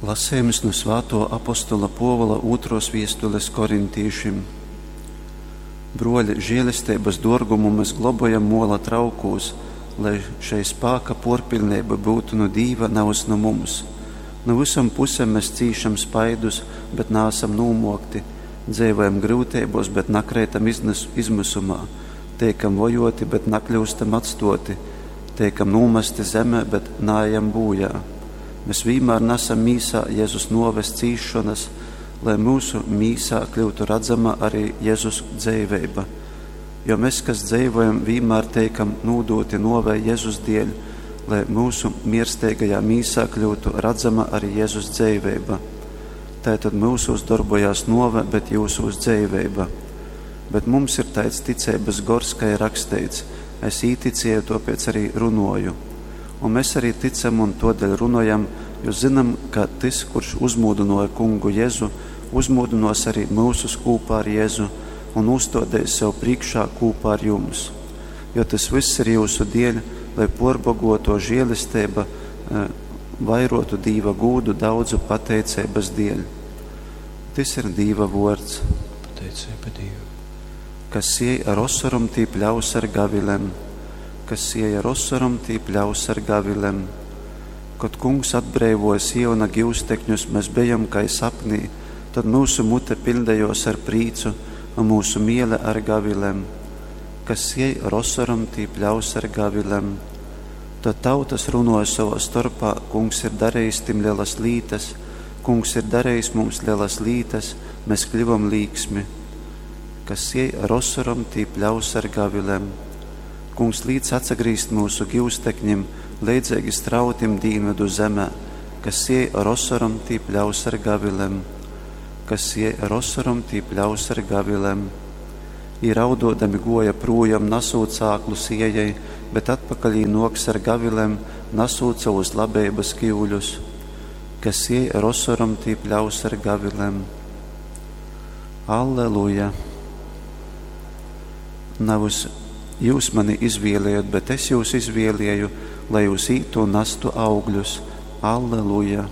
Lasejums nu svātuo apostola Puovula ūtruos viestules korintīšim. Bruoļi, žielesteibys duorgumu mes globojam muola traukūs, lai šei spāka puorpiļneiba byutu nu Dīva, navys nu mums. Nu vysom pusem mes cīšam spaidus, bet naasam nūmuokti, dzeivojam gryuteibuos, bet nakreitam izmysumā, teikam vojuoti, bet nakļyustam atstuoti, teikam nūmasti zemē, bet naejam būjā. Mes vīnmār nasam mīsā Jezus nuoves cīsšonas, lai myusu mīsā kļyutu radzama ari Jezus dzeiveiba. Jo mes, kas dzeivojam, vīnmār teikam nūdūti nuovei Jezus dieļ, lai myusu miersteigajā mīsā kļyutu radzama ari Jezus dzeiveiba. Taitod myusūs dorbojās nuove, bet jyusūs dzeiveiba. Bet mums ir taids ticeibys gors, kai ir raksteits, Es īticieju, tuopēc arī runoju. Un mes arī ticam un tuodeļ runojam, jo zynam, ka tys, kurš uzmūdynuoja Kungu Jezu, uzmūdynuos arī myusus kūpā ar Jezu un nūstuodeis sev prīškā kūpā ar jums. Jo tys vyss ir jyusu dieļ, lai puorboguotuo žielesteiba vairuotu Dīva gūdu daudzu pateiceibys dieļ. Tys ir Dīva vuords. Pateiceiba Dīvam. Kas siej ar osorom, tī pļaus ar gavilem. Kas siej ar osorom, tī pļaus ar gavilem. Kod Kungs atbreivuoja Siona giustekņus, mes bejom kai sapnī, tod myusu mute piļdejuos ar prīcu un myusu miele ar gavilem. Kas siej ar osorom, tī pļaus ar gavilem. Tod tautas runuoja sovā storpā, Kungs ir darejis tim lelas lītas, Kungs ir darejis mums lelas lītas, mes kļuvom līksmi. Kas siej ar osorom, tī pļaus ar gavilem. Kungs līc atsagrīzt myusu giustekņim, leidzeigi strautim dīnvydu zemē. Kas siej ar osorom, tī pļaus ar gavilem. Kas siej ar osorom, tī pļaus ar gavilem. Jī rauduodami guoja prūjom, nasūt sāklu siejai, bet atpakaļ jī nuoks ar gavilem, nasūt sovus labeibys kiuļus. Kas siej ar osorom, tī pļaus ar gavilem. Alleluja! Navys jyus mani izvielējot, bet es jyus izvielieju, lai jyus ītu un nastu augļus. Alleluja!